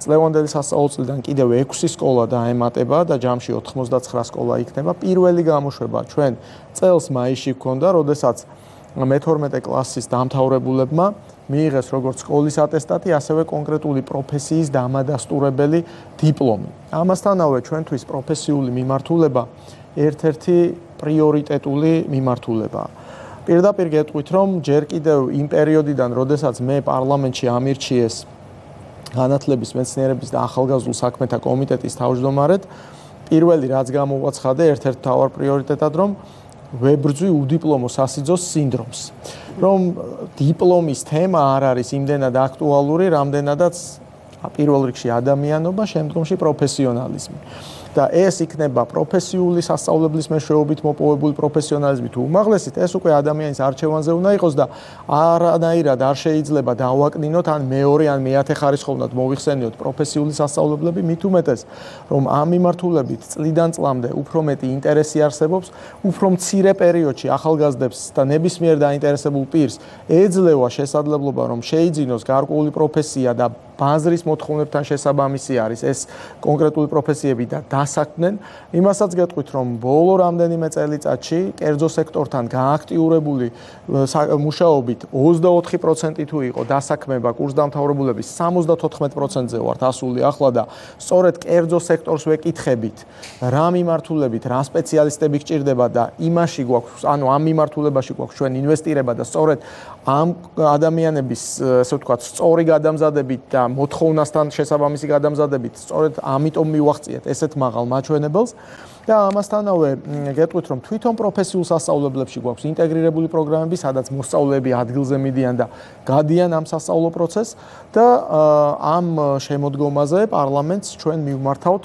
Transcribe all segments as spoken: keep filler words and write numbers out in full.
წლევანდელი სასწავლო წლიდან კიდევ ექვსი სკოლა დაემატება და ჯამში ოთხმოცდაცხრა სკოლა იქნება. პირველი გამოშვება ჩვენ წელს მაისში გქონდა, როდესაც მეთორმეტე კლასის დამთავრებულებმა მიიღეს როგორც სკოლის ატესტატი, ასევე კონკრეტული პროფესიის დამადასტურებელი დიპლომი. ამასთანავე ჩვენთვის პროფესიული მიმართულება ერთ-ერთი პრიორიტეტული მიმართულებაა. პირდაპირ გეტყვით, რომ ჯერ კიდევ იმ პერიოდიდან, როდესაც მე პარლამენტში ამირჩიეს განათლების, მეცნიერების და ახალგაზრდულ საქმეთა კომიტეტის თავმჯდომარედ, პირველი რაც გამოვაცხადე ერთ-ერთ მთავარ პრიორიტეტად, რომ ვებრძვი უდიპლომო სასიძოს სინდრომს. რომ დიპლომის თემა არ არის იმდენად აქტუალური, რამდენადაც პირველ რიგში ადამიანობა, შემდგომში პროფესიონალიზმი. და ეს იქნება პროფესიული სასწავლებლის მეშვეობით მოპოვებული პროფესიონალიზმი თუ უმაღლესით, ეს უკვე ადამიანის არჩევანზე უნდა იყოს და არანაირად არ შეიძლება დავაკნინოთ ან მეორე ან მეათე ხარისხოვნად მოვიხსენიოთ პროფესიული სასწავლებლები, მით უმეტეს, რომ ამ მიმართულებით წლიდან წლამდე უფრო მეტი ინტერესი არსებობს, უფრო მცირე პერიოდში ახალგაზრდებს და ნებისმიერ დაინტერესებულ პირს ეძლევა შესაძლებლობა, რომ შეიძინოს გარკვეული პროფესია და ბაზრის მოთხოვნებთან შესაბამისი არის ეს კონკრეტული პროფესიები და დასაქმდნენ. იმასაც გეტყვით, რომ ბოლო რამდენიმე წელიწადში კერძო სექტორთან გააქტიურებული მუშაობით ოცდაოთხი პროცენტი თუ იყო დასაქმება კურსდამთავრებულების სამოცდათოთხმეტ პროცენტზე ვართ ასული ახლა და სწორედ კერძო სექტორს ვეკითხებით, რა მიმართულებით, რა სპეციალისტები გჭირდება და იმაში გვაქვს, ანუ ამ მიმართულებაში გვაქვს ჩვენ ინვესტირება და სწორედ ამ ადამიანების, ასე ვთქვათ, სწორი გადამზადებით და მოთხოვნასთან შესაბამისი გადამზადებით, სწორედ ამიტომ მივახციეთ ესეთ მაღალ მაჩვენებელს და ამასთანავე გეტყვით, რომ თვითონ პროფესიულ სასწავლებლებში გვაქვს ინტეგრირებული პროგრამები, სადაც მოსწავლეები ადგილზე მიდიან და გადიან ამ სასწავლო პროცესს და ამ შემოდგომაზე პარლამენტს ჩვენ მივმართავთ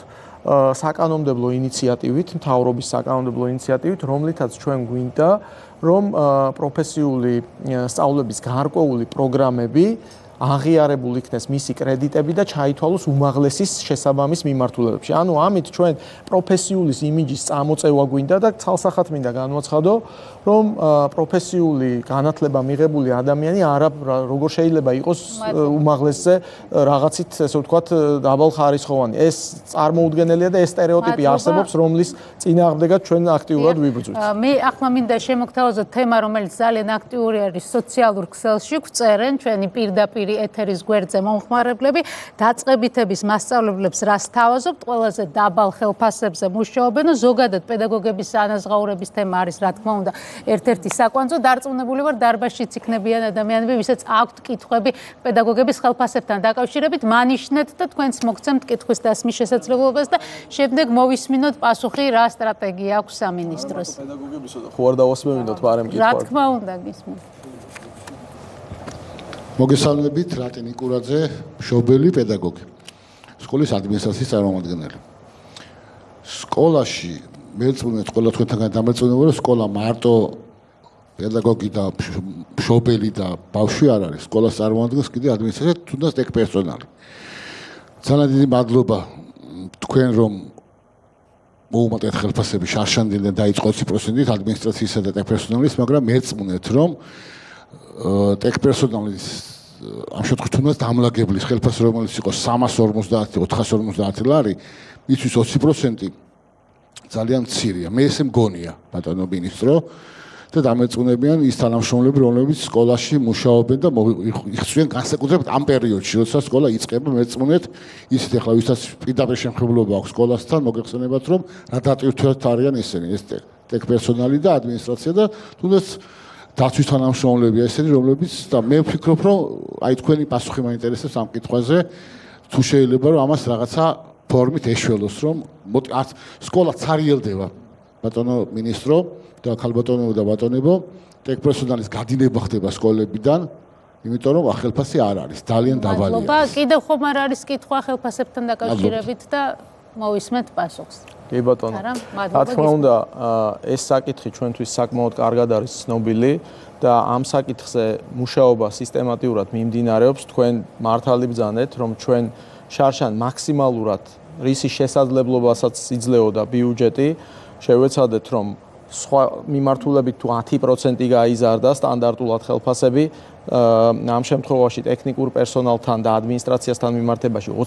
საკანონმდებლო ინიციატივით, მთავრობის საკანონმდებლო ინიციატივით, რომლითაც ჩვენ გვინდა, რომ პროფესიული სწავლების გარკვეული პროგრამები აღიარებულ იქნეს მისი კრედიტები და ჩაითვალოს უმაღლესის შესაბამის მიმართულებებში. ანუ ამით ჩვენ პროფესიულის იმიჯის წამოწევა გვინდა და ცალსახად მინდა განვაცხადო, რომ პროფესიული განათლება მიღებული ადამიანი არა როგორ შეიძლება იყოს უმაღლესზე რაღაცით, ესე ვთქვათ, დაბალხარისხოვანი. ეს წარმოუდგენელია და ეს სტერეოტიპი არსებობს, რომლის წინააღმდეგად ჩვენ აქტიურად ვიბრძვით. მე ახლა მინდა შემოგთავაზოთ თემა, რომელიც ძალიან აქტიური არის სოციალურ ქსელში, გვწერენ ჩვენი პირდაპირ ეთერის გვერდზე მომხმარებლები, დაწყებითების მასწავლებლებს რას თავაზობთ, ყველაზე დაბალ ხელფასებზე მუშაობენ, ზოგადად პედაგოგების ანაზღაურების თემა არის, რა თქმა უნდა, ერთ-ერთი საკვანძო. დარწმუნებული ვარ, დარბაზშიც იქნებიან ადამიანები, ვისაც აქვთ კითხვები პედაგოგების ხელფასებთან დაკავშირებით, მანიშნეთ და თქვენც მოგცემთ კითხვის დასმის შესაძლებლობას და შემდეგ მოვისმინოთ პასუხი, რა სტრატეგია აქვს სამინისტროს. პედაგოგებისა და ხო არ დავასმევინოთ, მაგრამ კითხვა. რა თქმა უნდა, გისმენთ. მოგესალმებით, რატი ნიკურაძე, მშობელი პედაგოგი, სკოლის ადმინისტრაციის წარმომადგენელი. სკოლაში მეწუნეთ ყველა თქვენთან დამეწუნებოდა, რომ სკოლა მარტო პედაგოგი და მშობელი და ბავშვი არ არის. სკოლას წარმოადგენს კიდე ადმინისტრაცია, თუნდაც ტექ პერსონალი. ძალიან დიდი მადლობა თქვენ, რომ მოუმატეთ ხელფასები შარშანდიდან დაიწყო ოცი პროცენტით ადმინისტრაციისა და ტექ პერსონალის, მაგრამ მეწუნეთ, რომ ტექ პერსონალის ამ შემთხვევაში თუნდაც დამლაგებლის ხელფასი რომელიც იყო სამას ორმოცდაათი ოთხას ორმოცდაათი ლარი, მისთვის ოცი პროცენტი ძალიან მცირეა. მე ესე მგონია, ბატონო მინისტრო, და დამეწუნებიან ის თანამშრომლები, რომლებიც სკოლაში მუშაობენ და იხსნიან განსაკუთრებით ამ პერიოდში, როცა სკოლა იწყება, მეწუნეთ ისეთ ახლა ვისაც პირდაპირ შემხებლობა აქვს სკოლასთან, მოგეხსენებათ, რომ რა დატვირთვით არიან ესენი, ეს ტექ პერსონალი და ადმინისტრაცია და თუნდაც დაცვის თანამშრომლებია ესენი, რომლებიც და მე ვფიქრობ, რომ აი თქვენი პასუხი მაინტერესებს ამ კითხვაზე, თუ შეიძლება რომ ამას რაღაცა ფორმით ეშველოს, რომ სკოლა ცარიელდება, ბატონო მინისტრო და ქალბატონებო და ბატონებო, ტექ პერსონალის გადინება ხდება სკოლებიდან, იმიტომ რომ ხელფასი არ არის, ძალიან დაბალია. მადლობა, კიდევ ხომ არ არის კითხვა ხელფასებთან დაკავშირებით და მოვისმენთ პასუხს. კი ბატონო. რა თქმა უნდა, ეს საკითხი ჩვენთვის საკმაოდ კარგად არის ცნობილი და ამ საკითხზე მუშაობა სისტემატიურად მიმდინარეობს. თქვენ მართალი ბრძანეთ, რომ ჩვენ შარშან მაქსიმალურად რისი შესაძლებლობასაც იძლეოდა ბიუჯეტი, შევეცადეთ, რომ სხვა მიმართულებით თუ ათი პროცენტი გაიზარდა სტანდარტულად ხელფასები, ამ შემთხვევაში ტექნიკურ პერსონალთან და ადმინისტრაციასთან მიმართებაში